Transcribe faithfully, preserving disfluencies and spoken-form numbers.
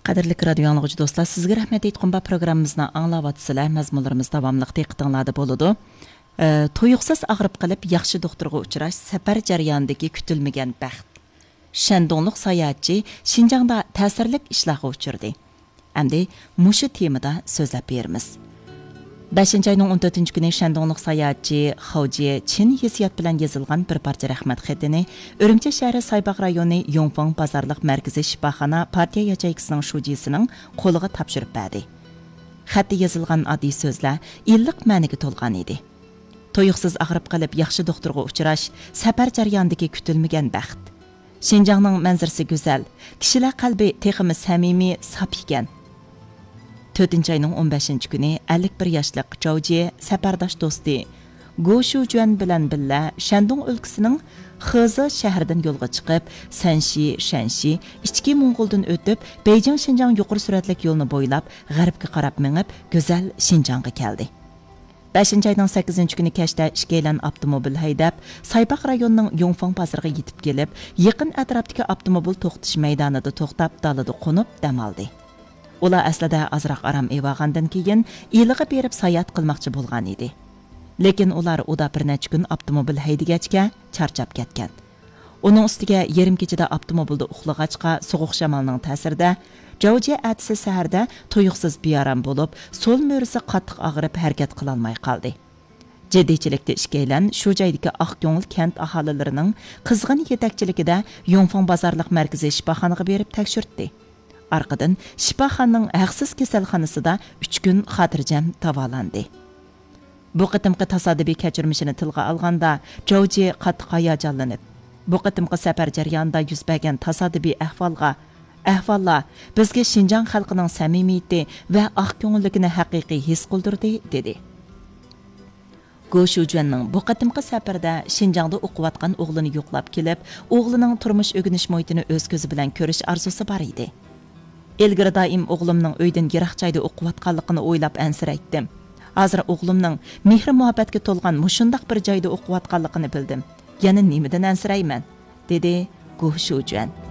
قەدىرلىك رادىيو ئاڭلىغۇچى دوستلار، سىزگە رەھمەت ئېيتقۇم بار پروگراممىمىزنى ئاڭلاۋاتىسىلەر. مەزمۇنلىرىمىز داۋاملىق دىققىتىڭلاردا بولىدۇ. ئە، تۇيۇقسىز ئاغرىپ قېلىپ ياخشى دوختۇرغا ئۇچراش سەپەر جەريانىدىكى كۈتۈلمىگەن بەخت. شەندۇڭلۇق ساياھەتچى شىنجاڭدا تەسىرلىك ئىشلارغا ئۇچرىدى. ئەمدى مۇشۇ تېمىدا سۆزلەپ بېرىمىز. بەشىنچى ئاينىڭ ئون تۆتىنچى كۈنى شەندۇڭلۇق ساياھەتچى خاۋجيې چىن ھېسسىيات بىلەن يېزىلغان بىر پارچە رەھمەت خېتىنى ئۈرۈمچى شەھىرى سايباغ رايونى يۇڭفېڭ بازارلىق مەركىزىي شىپاخانا پارتىيە ياچېيكىسىنىڭ شۇجىسىنىڭ قولىغا تاپشۇرۇپ بەردى. خەتتە يېزىلغان ئاددىي سۆزلەر ئىللىق مەنىگە تولغان ئىدى. تۇيۇقسىز ئاغرىپ قېلىپ ياخشى دوختۇرغا ئۇچراش سەپەر جەريانىدىكى كۈتۈلمىگەن بەخت. شىنجاڭنىڭ مەنزىرىسى گۈزەل، كىشىلەر قەلبى تېخىمۇ سەمىمىي، ساپ ئىكەن. تۆتىنچى ئاينىڭ ئون بەشىنچى كۈنى ئەللىك بىر ياشلىق جاۋجيې سەپەرداش دوستى گو شۇجۈەن بىلەن بىللە شەندۇڭ ئۆلكىسىنىڭ خېزې شەھىرىدىن يولغا چىقىپ، سەنشى، شەنشى، ئىچكى موڭغۇلدىن ئۆتۈپ، بېيجىڭ شىنجاڭ يۇقىرى سۈرئەتلىك يولىنى بويلاپ، غەربكە قاراپ مېڭىپ، گۈزەل شىنجاڭغا كەلدى. بەشىنچى ئاينىڭ سەككىزىنچى كۈنى كەچتە ئىككىيلەن ئاپتوموبىل ھەيدەپ، سايباغ رايونىنىڭ يۇڭفېڭ بازىرىغا يېتىپ كېلىپ، يېقىن ئەتراپتىكى ئاپتوموبىل توختىتىش مەيدانىدا توختاپ، دالىدا قونۇپ دەم ئالدى. ئۇلار ئەسلىدە ئازراق ئارام ئېلىۋالغاندىن كېيىن، ئىلىغا بېرىپ ساياھەت قىلماقچى بولغان ئىدى. لېكىن ئۇلار ئۇدا بىر نەچچە كۈن ئاپتوموبىل ھەيدىگەچكە، چارچاپ كەتكەن. ئۇنىڭ ئۈستىگە يېرىم كېچىدە ئاپتوموبىلدا ئۇخلىغاچقا، سوغۇق شامالنىڭ تەسىرىدە، جاۋجيې ئەتىسى سەھەردە تۇيۇقسىز بىئارام بولۇپ، سول مۈرىسى قاتتىق ئاغرىپ، ھەرىكەت قىلالماي قالدى. جىددىيچىلىكتە ئىككىيلەن شۇ جايدىكى ئاق كۆڭۈل كەنت ئاھالىلىرىنىڭ قىزغىن يېتەكچىلىكىدە يۇڭفېڭ بازارلىق مەركىزىي شىپاخانىغا بېرىپ تەكشۈرتتى. ئارقىدىن شىپاخانىنىڭ ھەقسىز كېسەلخانىسىدا ئۈچ كۈن خاتىرجەم داۋالاندى. بۇ قېتىمقى تاسادىپىي كەچۈرمىشىنى تىلغا ئالغاندا، جاۋجيې قاتتىق ھاياجانلىنىپ، بۇ قېتىمقى سەپەر جەريانىدا يۈز بەرگەن تاسادىپىي ئەھۋالغا، ئەھۋاللار بىزگە شىنجاڭ خەلقىنىڭ سەمىمىيىتى ۋە ئاق كۆڭۈللۈكىنى ھەقىقىي ھېس قىلدۇردى، دېدى. گو شۇجۈەننىڭ بۇ قېتىمقى سەپىرىدە شىنجاڭدا ئوقۇۋاتقان ئوغلىنى يوقلاپ كېلىپ، ئوغلىنىڭ تۇرمۇش ئۆگىنىش مۇھىتىنى ئۆز كۆزى بىلەن كۆرۈش ئارزۇسى بار ئىدى. ئىلگىرى دائىم ئوغلۇمنىڭ ئۆيدىن يىراق جايدا ئوقۇۋاتقانلىقىنى ئويلاپ ئەنسىرەيتتىم. ھازىر ئوغلۇمنىڭ مېھرى-مۇھەببەتكە تولغان مۇشۇنداق بىر جايدا ئوقۇۋاتقانلىقىنى بىلدىم. يەنە نېمىدىن ئەنسىرەيمەن؟ دېدى گو شۇجۈەن.